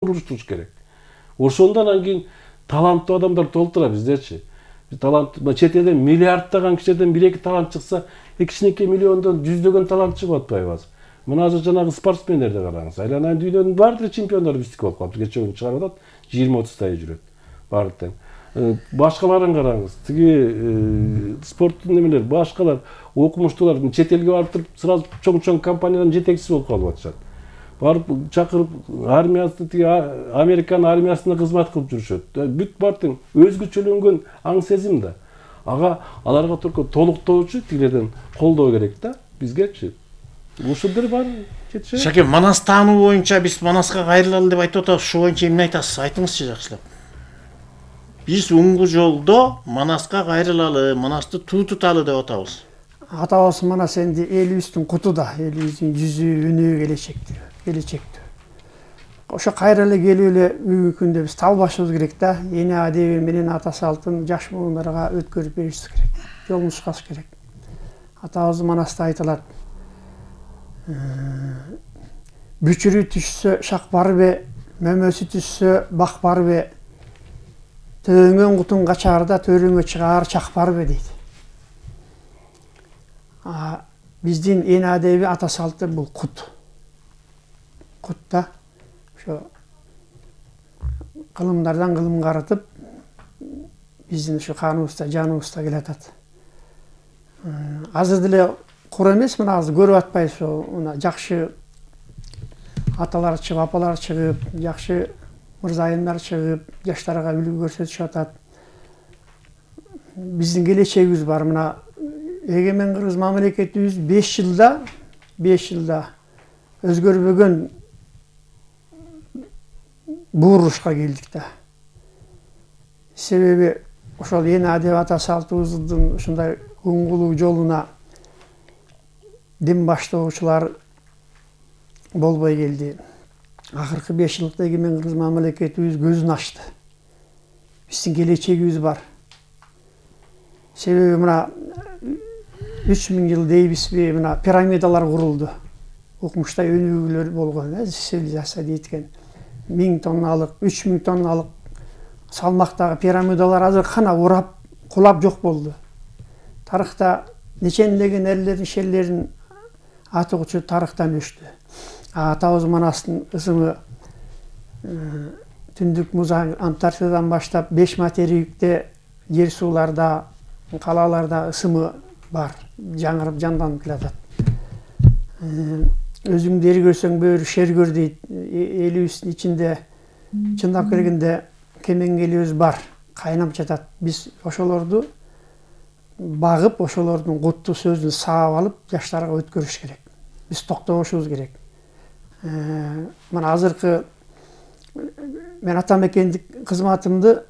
уруштуруш керек. Ошондон анан таланттуу адамдар толтура биздечи. Талант чет элден миллиарддаган кишиден 1-2 талант чыкса, кичинекей миллиондон жүздөгөн талант чыгып атпайбы? Мына азыр жанагы спортсмендерди караңыз. Айланайын дүйнөнүн баардык чемпиондору биздики болуп калат. Кечээ күн чыгарып атат, 20-30 тай жүрөт. Баардык. Башкаларын караңыз. Тиги спорттун немелер, башкалар окумуштуулар чет элге барып туруп, сразу чоң компаниянын жетекчиси болуп калып атышат. Барып чакырып армиясы тиги Американын армиясына кызмат кылып жүрүшөт. Бүт бартың өзгөчөлөнгөн аң сезим да. Аларга только толуктоочу тигилерден колдоо керек да бизгечи. Ушулдар бар жетишет. Шаке, Манас таануу боюнча биз Манаска кайрылалы деп айтып атабыз. Ошо боюнча эмне айтасыз? Айтыңызчы жакшылап. Биз уңгу жолдо Манаска кайрылалы, Манасты туутуталы деп атабыз. Атабыз Манас энди элибиздин куту да, элибиздин жүзү, үнү, келечектүү. Ошо кайрылы келип эле бүгүнкү күндө биз талбашыбыз керек да. Эне адеби менен ата салтын жаш муундарга өткөрүп беришибиз керек. Жол нушкаш керек. Атабыз Манаста айтылат. Бүчүрү түшсө шак барбы, мөмөсү түшсө бак барбы, төңөн кутун качаарда төрүңө чыгаар чак барбы дейт. Биздин эне адеби ата салты бул кут. Кут да. Ошо кылымдардан кылым карытып, биздин ушу каныбызда, жаныбызда келатат. Азыр деле кур эмес, мына азыр көрүп атпайбыз, мына жакшы аталар чыгып, апалар чыгып, жакшы мырзайымдар чыгып, жаштарга үлгү көрсөтүшүп атат. Биздин келечегибиз бар. Мына эгемен кыргыз мамлекетибиз 5 жылда өзгөрбөгөн буурушка келдик да. Себеби ошол эне адеби ата салтыбыздын ушундай уңгулуу жолуна дин баштоочулар болбой келди. Акыркы 5 жылдыкта эгемен кыргыз мамлекетибиз көзүн ачты. Биздин келечегибиз бар. Себеби мына 3000 жыл дейбизби, мына пирамидалар курулду. Окумуштай өнүгүүлөр болгон, цивилизация дейт экен. 1000 тонналык, 3000 тонналык салмактагы пирамидалар азыр кана урап, кулап жок болду. Тарыхта нечендеген эрлердин, шерлердин аты учу тарыхтан өчтү. Атабыз Манастын ысымы түндүк муз Антарктидадан баштап 5 материкте, жер сууларда, калаларда ысымы бар, жаңырып жанданып келатат. Өзүңдү көрсөң бөөрү шер көр дейт. Элибиздин ичинде чындап келгенде кемеңгелибиз бар, кайнап жатат. Биз ошолорду багып, ошолордун куттуу сөзүн саап алып, жаштарга өткөрүш керек. Биз токтобошубуз керек. Мына азыркы мен атамекендик кызматымды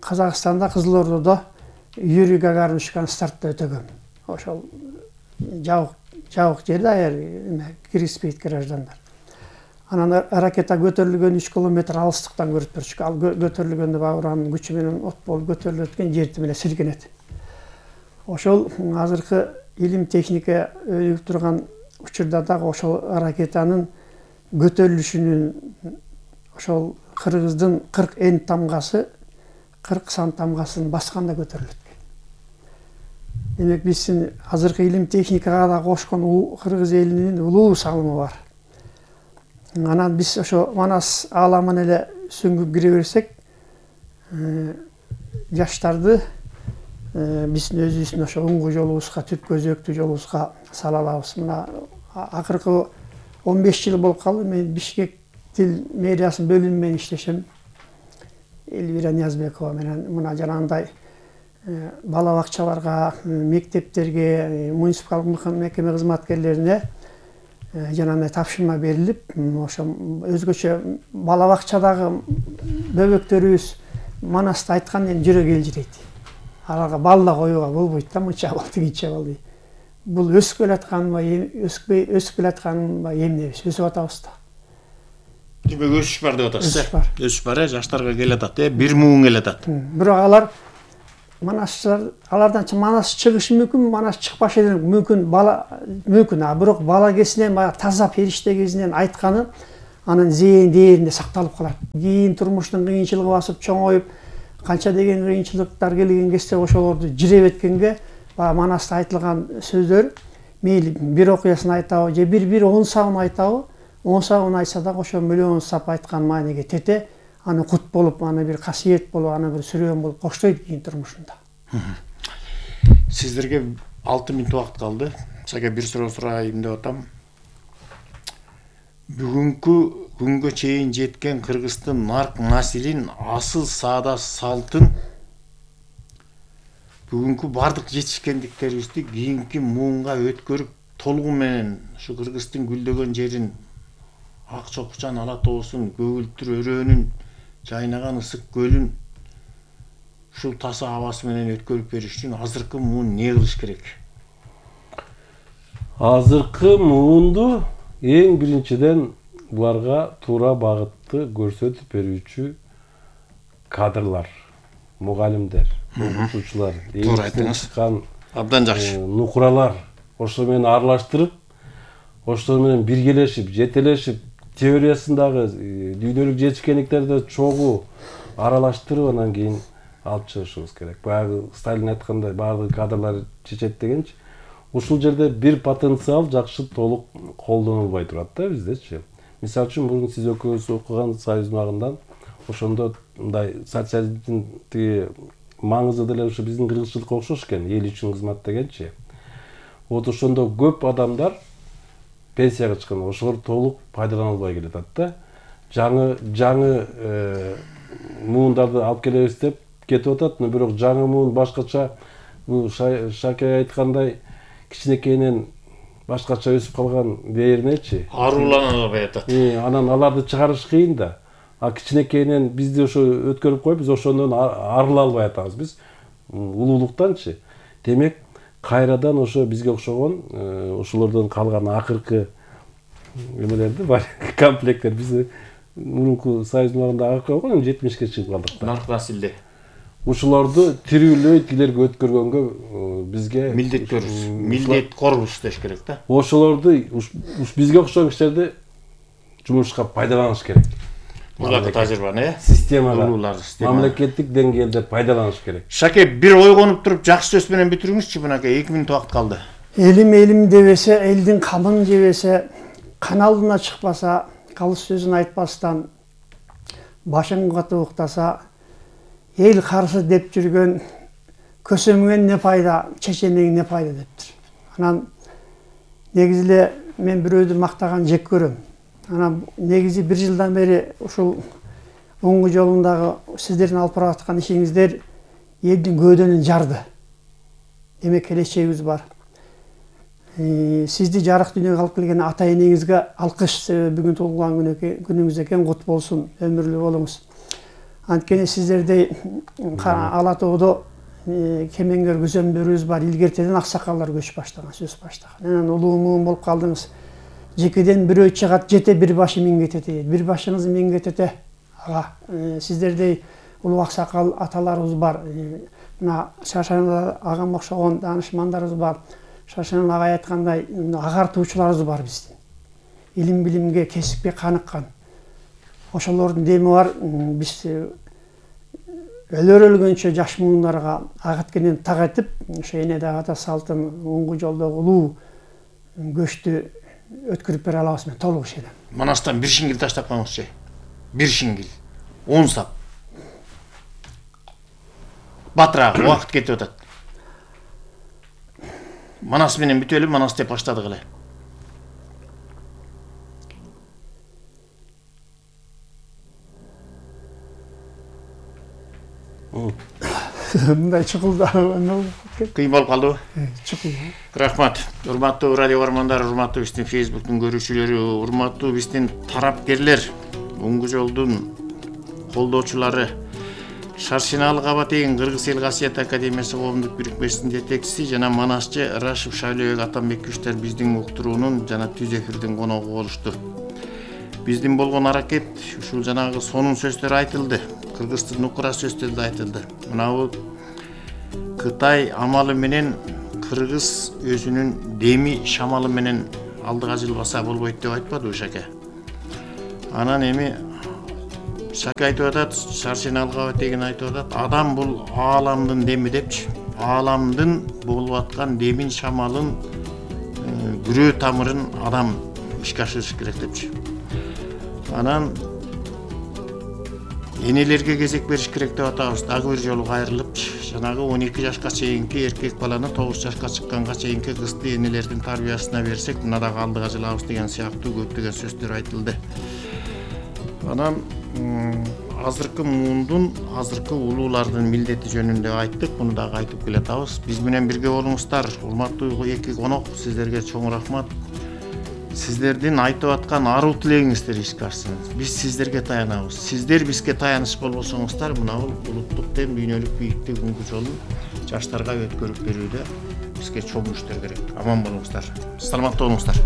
Казакстанда, Кызыл-Ордодо Юрий Гагарин учкан стартта өтөгөм. Ошол жабык жерде аяр кириспейт граждандар. Анан ракета көтөрүлгөн 3 километр алыстыктан көрүп турчук. Ал көтөрүлгөндө бауранын күчү менен от болуп көтөрүлүп өткөн жерти менен силкенет. Ошол азыркы илим техника өнүгүп турган учурда дагы ошол ракетанын көтөрүлүшүнүн ошол кыргыздын 40 эн тамгасы 40 сан тамгасын басканда көтөрүлөт. Демек биздин азыркы илим техникага да кошкон кыргыз элинин улуу салымы бар. Анан биз ошо Манас ааламына эле сүңгүп кире берсек, жаштарды биздин өзүбүздүн ошо уңгу жолубузга, түп көзөктүү жолубузга сала алабыз. Мына акыркы 15 жыл болуп калды, мен Бишкек тил мэриясынын бөлүмү менен иштешем. Элвира Ниязбекова менен мына жанагындай бала бакчаларга, мектептерге, муниципалдык мекеме кызматкерлерине жанагындай тапшырма берилип, ошо өзгөчө бала бакчадагы бөбөктөрүбүз Манасты айтканда эми жүрөк элжирейт. Аларга бал да коюуга болбойт да, мынча бал, тигинче бал дейт. Бул өсүп келатканбы, өсүп келатканбы эмнебиз, өсүп атабыз да. Демек өсүш бар деп атасыз. Өсүш бар, жаштарга келатат, бир муун келатат. Бирок алар Манасчылар, алардан Манас чыгышы мүмкүн, Манас чыкпашы мүмкүн, бала мүмкүн. Бирок бала кезинен, таза периште кезинен айтканы анын зээн дээринде сакталып калат. Кийин турмуштун кыйынчылыгы басып чоңоюп, канча деген кыйынчылыктар келген кезде ошолорду жиреп эткенге баягы Манаста айтылган сөздөр мейли бир окуясын айтабы же бир 10 сабын айтабы, 10 сабын айтса дагы ошо миллион сап айткан маанеге тете, аны кут болуп, аны бир касиет болуп, аны бир сүрөөн болуп коштойт кийин турмушунда. Сиздерге 6 мүнөт убакыт калды. Сага бир суроо сурайын деп атам. Бүгүнкү күнгө чейин жеткен Кыргыздын нарк населин, асыл саада салтын, бүгүнкү бардык жетишкендиктерибизди кийинки муунга өткөрүп, толугу менен ушу Кыргыздын гүлдөгөн жерин, ак чокучан ала тоосун, көгүлтүр өрөөнүн жайнаган ысык көлүн ушул таса абасы менен өткөрүп бериш үчүн азыркы муун не кылыш керек? Азыркы муунду эң биринчиден буларга туура багытты көрсөтүп берүүчү кадрлар, мугалимдер, окутуучулар, чыккан абдан жакшы нукуралар ошо менен аралаштырып, ошо менен биргелешип, жетелешип, теориясындагы дүйнөлүк жетишкендиктерди чогуу аралаштырып, анан кийин алып чыгышыбыз керек. Баягы Сталин айткандай, баардык кадрлар чечет дегенчи, ушул жерде бир потенциал жакшы толук колдонулбай турат да биздечи. Мисалы үчүн мурун сиз экөөбүз окуган Союз убагында ошондо мындай социализмдин тиги маңызы деле ушу биздин кыргызчылыкка окшош экен, эл үчүн кызмат дегенчи. Вот ошондо көп адамдар пенсияга чыккан, ошолор толук пайдаланылбай келатат да. Жаңы муундарды алып келебиз деп кетип атат, но бирок жаңы муун башкача, бул Шаке айткандай кичинекейинен башкача өсүп калган дээринечи. Аруланбай атат. Анан аларды чыгарыш кыйын да. А кичинекейинен бизди ошо өткөрүп коюп, биз ошондон арыла албай атабыз биз улуулуктанчы. Демек, кайрадан ошо бизге окшогон ошолордон калган акыркы эмелерди бар комплекттер биз мурунку Союз убагында акыркы болгон 70ке чыгып калдык да. Нарк населде. Ушуларды тирүүлөй тилерге өткөргөнгө бизге милдет-корбуш деш керек да. Ошолорду бизге окшогон кишилерди жумушка пайдаланыш керек. Буларды тажрыйбаны, системага, мамлекеттик деңгээлде пайдаланыш керек. Шаке, бир ойгонуп туруп жакшы сөз менен бүтүрүңүзчү, мынакей 2 мүнөт убакыт калды. Элим дебесе, элдин камын жебесе, каналына чыкпаса, калыс сөзүн айтпастан, башын катып уктаса, эл каршы деп жүргөн көсөмгөн не пайда, чеченең не пайда дептир. Анан негизи эле мен бирөөдү мактаган жек көрөм. Анан негизи 1 жылдан бери ушул оңгу жолундагы сиздердин алып бара аткан ишиңиздер элдин көөдөнүн жарды. Демек келечегибиз бар. Сизди жарык дүйнөгө алып келген ата энеңизге алкыш, себеби бүгүн туулган күнүңүз экен, кут болсун, өмүрлүү болуңуз. Анткени сиздердей Ала тоодо кемеңгер көзөмдөрүбүз бар, илгертеден аксакалдар көчүп баштаган, сөз баштаган. Анан улуу муун болуп калдыңыз. Жекеден бирөө чыгат, жете бир башы миңгетете, бир башыңыз миңгетете. Ага, сиздердей улуу аксакал аталарыбыз бар. Мына Шашан агам окшогон данышмандарыбыз бар. Шашан агай айткандай, агартуучуларыбыз бар биздин. Илим билимге, кесипке каныккан. Ошолордун деми бар, биз өлгөнчө жаш муундарга агыткенен так этип, ошо энеде ата салтын оңгу жолдогу улуу көчтү өткөрүп бере алабыз мен толук ишенем. Манастан бир шиңгил таштап коюңузчу. Бир шиңгил. 10 сап. Батырак убакыт кетип атат. Манас менен бүтөлүп, Манас деп баштадык эле. Мындай чукулда кыйын болуп калдыбы? Чукул. Рахмат. Урматтуу радио көрөрмандар, урматтуу биздин Facebook'тун көрүүчүлөрү, урматтуу биздин тарапкерлер, оңгу жолдун колдоочулары, Шаршиналык Абатейин Кыргыз эл касиет академиясы коомдук бирикмесинин жетекчиси жана манасчы Рашев Шайлообек Атамбековичтер биздин уктуруунун жана түз эфирдин коногу болушту. Биздин болгон аракет ушул жанагы сонун сөздөр айтылды. Кыргыздын нукура сөздөр да айтылды. Мынабу Кытай амалы менен Кыргыз өзүнүн деми шамалы менен алдыга жылбаса болбойт деп айтпады Шаке. Анан эми Шаке айтып атат, Шаршеналы кабат деген айтып атат, адам бул ааламдын деми депчи. Ааламдын болуп аткан демин, шамалын, күрөө тамырын адам ишке ашырыш керек депчи. Анан энелерге кезек бериш керек деп атабыз. Дагы бир жолу кайрылып, жанагы 12 жашка чейинки эркек баланы 9 жашка чыкканга чейинки кызды энелердин тарбиясына берсек, мына дагы алдыга жылабыз деген сыяктуу көптөгөн сөздөр айтылды. Анан азыркы муундун, азыркы улуулардын милдети жөнүндө айттык, муну дагы айтып келатабыз. Биз менен бирге болуңуздар. Урматтуу эки конок, сиздерге чоң рахмат. Сиздердин айтып аткан аруу тилегиңиздер ишке ашсын. Биз сиздерге таянабыз. Сиздер бизге таяныч болбосоңуздар, мына бул улуттук дем, дүйнөлүк бийиктик унгу жолун жаштарга өткөрүп берүүдө бизге чоң күчтөр керек. Аман болуңуздар. Саламатта болуңуздар.